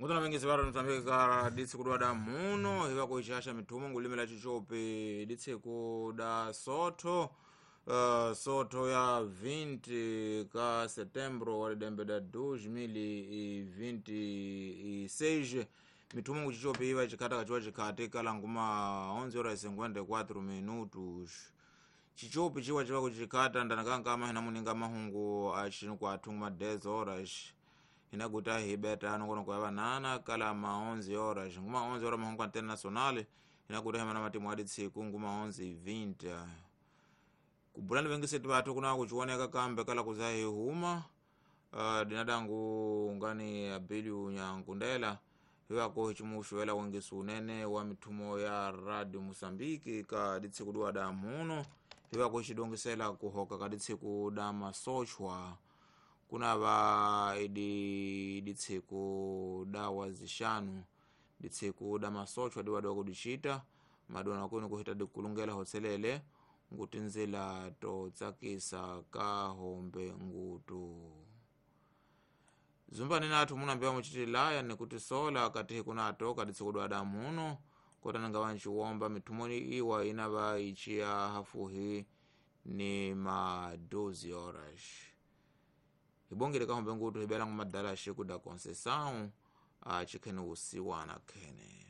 Mutona vengesi varo Mozambique ka ditsiku da muno hiva kuixaxa mithumo ngulimela chichopi ditsiku da sotho, sotho ya 20 ka setembro wa lidembe da 2026. Mithumo nguchichopi iva chikhata kachiwa chikhati kala nguma 11 horas 54 minutos. Chichopi chiwa chiva kuchikhata ndanakanka hina muninga mahungu axinu kwathu nguma 10 horas, inaguta hibeta nongonoko ya banana kala ma 11 horas. Nguma 11 horas mahungu antena nacional inaguta himana matimu adi tsiku nguma 11:20. Kubulani vengiseti vathu kuna kuchioneka kambe kala kuzahi huma, dinadangu ngani abiliu nyankundela hiwako hichimuxuela wengisi unene wa mithumo ya Radio Moçambique ka ditsiku diwa da muno, hiwako hichidongisela kuhoka ka ditsiku da masochwa kunava idi ditsiku da wazixanu, ditsiku da masochwa diwadiwa kudichita madona kuni kuhita dikulungela hotselele ngutinzila totsakisa ka hombe ngutu. Zumbani nathu munambiwa muchitilaya nikutisola katihi kunato kaditsiku dwa damuno kotananga wanchiwomba mithumoni iwa inava ichiya hafuhi ni ma 12 horas. Hibongele kahombe ngutu hibelangu madala xiku da Conceição achikhene usiwana khene.